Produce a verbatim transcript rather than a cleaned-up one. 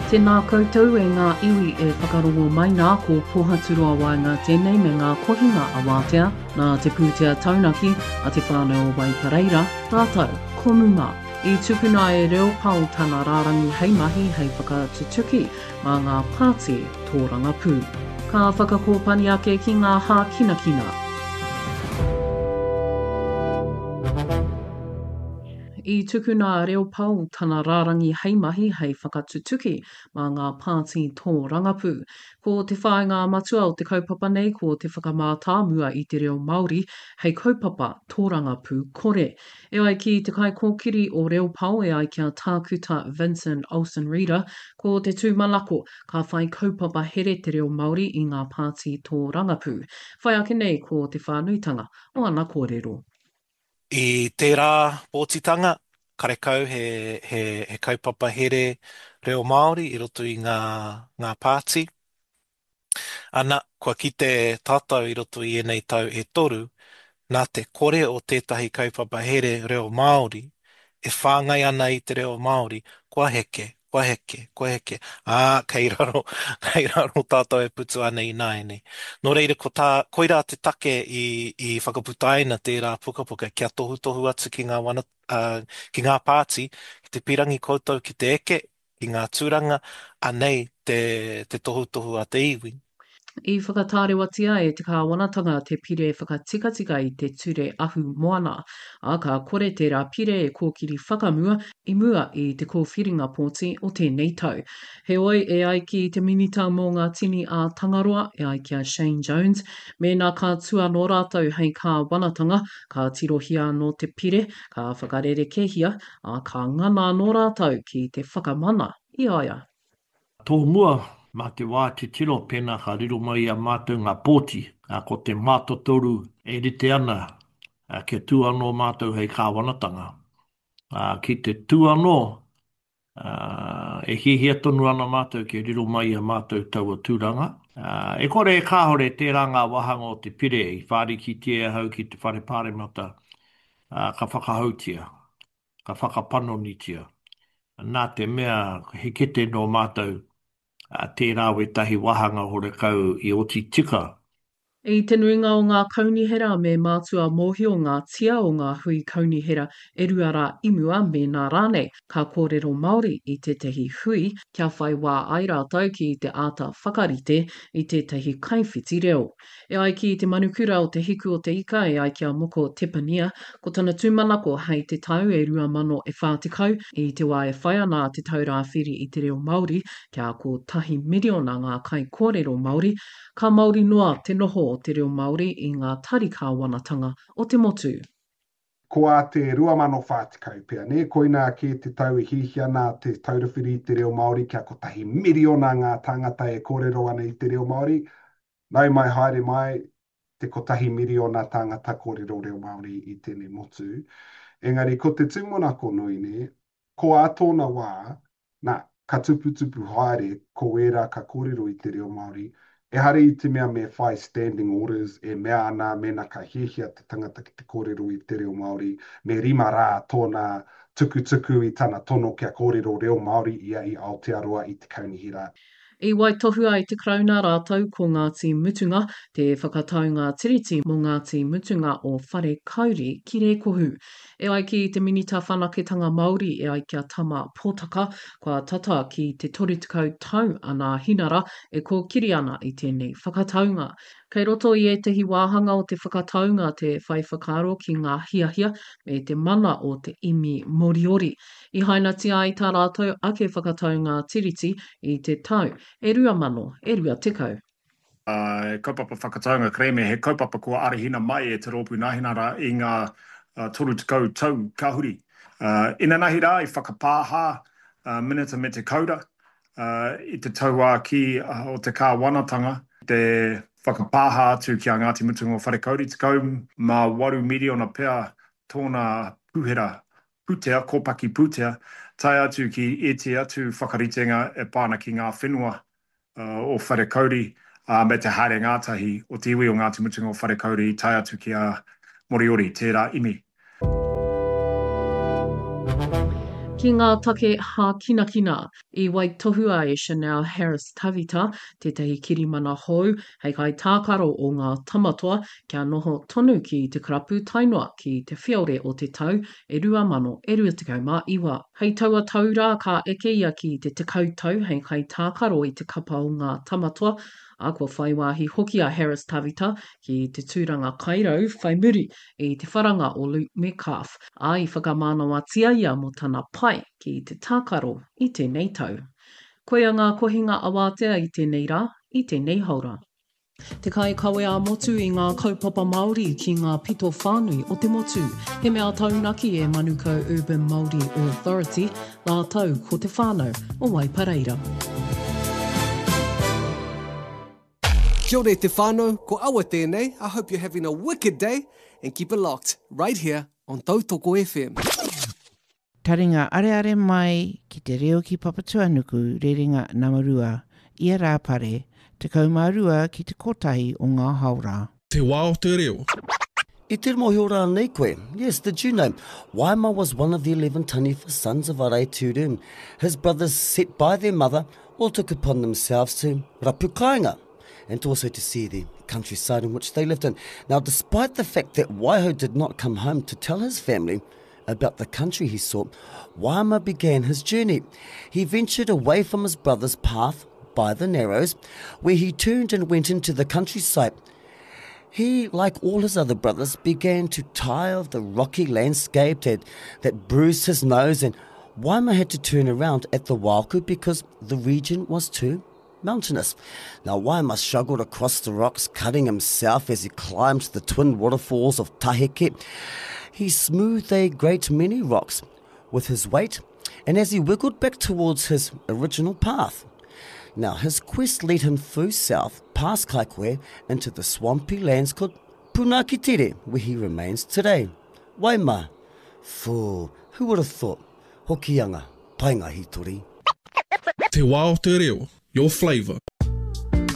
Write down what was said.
Tēnā koutou e ngā iwi e whakarongo mai nā, ko Pohaturoa Waenga tēnei me ngā kohinga awātea, nā te pūtea taunaki a te whānau o Waipareira, rātou ko Muma. I tukuna e Reo Pao tana rārangi hei mahi hei whakatutuki mā ngā pāti tōrangapū. Ka whakakōpani ake ki ngā hākinakina. I tukuna a Reo Pao tana rārangi hei mahi hei whakatutuki mā ngā pāti tōrangapū. Ko te whāinga matua o te kaupapa nei ko te whakamātāmua i te reo Māori hei kaupapa tōrangapū kore. E ai ki te kaikōkiri o Reo Pao e ai ki a Tākuta Vincent Olsen-Reeder, ko te tūmanako ka whai kaupapa here te reo Māori i ngā pāti tōrangapū. Whai ake nei ko te whānuitanga o ana kōrero. I tērā pōtitanga, karekau he, he, he kaupapa here reo Māori i roto i ngā, ngā pāti. Ana, kua kite tātou i roto i ēnei tau e toru, nā te kore o tētahi kaupapa here reo Māori e whāngai ana i te reo Māori, kua heke, kua heke, kua heke, ā, kei raro, kei raro tātou e putu ana ināianei. Nō reira, ko tā, koirā te take i, i whakaputaina tērā pukapuka kia tohutohu atu ki ngā wana, ā, ki ngā pāti, ki te pirangi koutou ki te eke, ki ngā tūranga, anei te, te tohutohu a te iwi. I whakatārewatia e te kāwanatanga te pire whakatikatika i te Ture Ahu Moana, ā, ka kore tērā pire e kōkiri whakamua i mua i te kōwhiringa pōti o tēnei tau. Heoi, e ai ki te Minita mō ngā Tini a Tangaroa, e ai ki a Shane Jones, mēnā ka tū anō rātou hei kāwanatanga, ka tirohia anō te pire, ka whakarerekēhia, ā, ka ngana anō rātou ki te whakamana i a ia. Tōmua, mā te wā titiro pēnā ka riro mai i a mātou ngā pōti, ā, ko te mātotoru e rite ana kia tū anō mātou hei kāwanatanga. Ā, ki te tū anō, ā, e hiahia tonu ana mātou kia riro mai i a mātou taua tūranga. Ā, e kore e kāore tērā ngā wāhanga o te pire i whārikitia e ahau ki te Whare Pāremata, ā, ka whakahoutia, ka whakapanonitia. Nā te mea he kete nō mātou, ā, tērā wētahi wāhanga horekau i oti tika. I te nuinga o ngā kaunihera me mātua mōhio ngā tia o ngā hui kaunihera e rua rā i mua mēnā rānei ka kōrero Māori i tētahi hui kia whai wā ai rātou ki te āta whakarite i tētahi kaiwhiti reo. E ai ki te manukura o Te Hiku o te Ika e ai ki a Moko Tepania, ko tana tūmanako hei te tau e rua mano e whā tekau, i te wā e whai ana a Te Taura Whiri i te Reo Māori kia kotahi miriona ngā kaikōrero Māori, ka māori noa te noho o te reo Māori i ngā tari kāwanatanga o te motu. Ko ā te rua mano whā tekau pea, nē? Koinā kē te tau e hiahia ana Te Taura Whiri i te Reo Māori kia kotahi miriona ngā tāngata e kōrero ana i te reo Māori. Nau mai haere mai te kotahi miriona tāngata kōrero reo Māori i tēnei motu. Engari ko te tūmanako nui, nē, ko ā tōna wā, nā, ka tuputupu haere ko ērā ka kōrero i te reo Māori, ehara i te mea me whai standing orders e mea ana mēnā ka hiahia te tangata ki te kōrero i te reo Māori, me rima rā tōna tukutuku i tana tono kia kōrero reo Māori ia i Aotearoa i te kaunihera. I waitohua e te Karauna rātou ko Ngāti Mutunga te whakataunga tiriti mō Ngāti Mutunga o Wharekauri ki Rēkohu. E ai ki te Minita Whanaketanga Māori e ai ki a Tama Potaka, kua tata ki te toru tekau tau a Nāhinara e kōkiri ana i tēnei whakataunga. Kei roto i ētahi wāhanga o te whakataunga te whai whakaaro ki ngā hiahia me te mana o te imi Moriori. I hainatia ai tā rātou ake whakataunga tiriti i te tau e rua mano e rua tekau. He kaupapa whakataunga kerēme, he kaupapa kua arahina mai e Te Rōpū Nāhinara i ngā toru tekau tau ka huri. Inanahi rā i whakapāha Minita me te Kaura i te tauākī o te kāwanatanga te whakapāha atu ki a Ngāti Mutunga o Wharekauri, tekau mā waru miriona pea tōna pūhera pūtea, kōpaki pūtea, tae atu ki ētehi atu whakaritenga e pā ana ki ngā whenua o Wharekauri, ā, me te haere ngātahi o te iwi o Ngāti Mutunga o Wharekauri tae atu ki a Moriori, tērā imi. Ki ngā take hākinakina, i waitohua e Chanel Harris-Tavita tētahi kirimana hou hei kaitākaro o ngā Tamatoa kia noho tonu ki te karapu tae noa ki te whiore o te tau e rua mano e rua tekau mā iwa. Hei taua tau rā ka eke ia ki te tekau tau hei kaitākaro i te kapa o ngā Tamatoa, ā, kua whai wāhi hoki a Harris-Tavita ki te tūranga kairau whai muri i te wharanga o Luke Metcalf, ā, i whakamānawatia ia mō tana pai ki te tākaro i tēnei tau. Koia ngā kohinga awātea i tēnei rā, i tēnei haora. Te kaikawe ā-motu i ngā kaupapa Māori ki ngā pito whānui o te motu. He mea taunaki e Manukau Urban Māori Authority rātou ko te whānau o Waipareira. Kia ora e te whānau, ko Awa tēnei, I hope you're having a wicked day and keep it locked right here on Tautoko FM. Taringa areare mai ki te reo ki Papatuanuku rerenga nama rua, ia Rāpare, tekau mā rua ki te kotahi o ngā haora. Te wā o te reo. I te mōhio rānei koe? Yes, did you know? Waima was one of the eleven taniwha sons of Araitūru. His brothers set by their mother all took upon themselves to rapu kāinga and also to see the countryside in which they lived in. Now, despite the fact that Waiho did not come home to tell his family about the country he sought, Waima began his journey. He ventured away from his brother's path by the Narrows, where he turned and went into the countryside. He, like all his other brothers, began to tire of the rocky landscape that, that bruised his nose, and Waima had to turn around at the Wauku because the region was too mountainous. Now, Waima struggled across the rocks, cutting himself as he climbed the twin waterfalls of Taheke. He smoothed a great many rocks with his weight, and as he wiggled back towards his original path. Now, his quest led him through south, past Kaikwe, into the swampy lands called Punakitere, where he remains today. Waima, fool, who would have thought? Hokianga, painga hitori. Te wā o te reo, your flavour.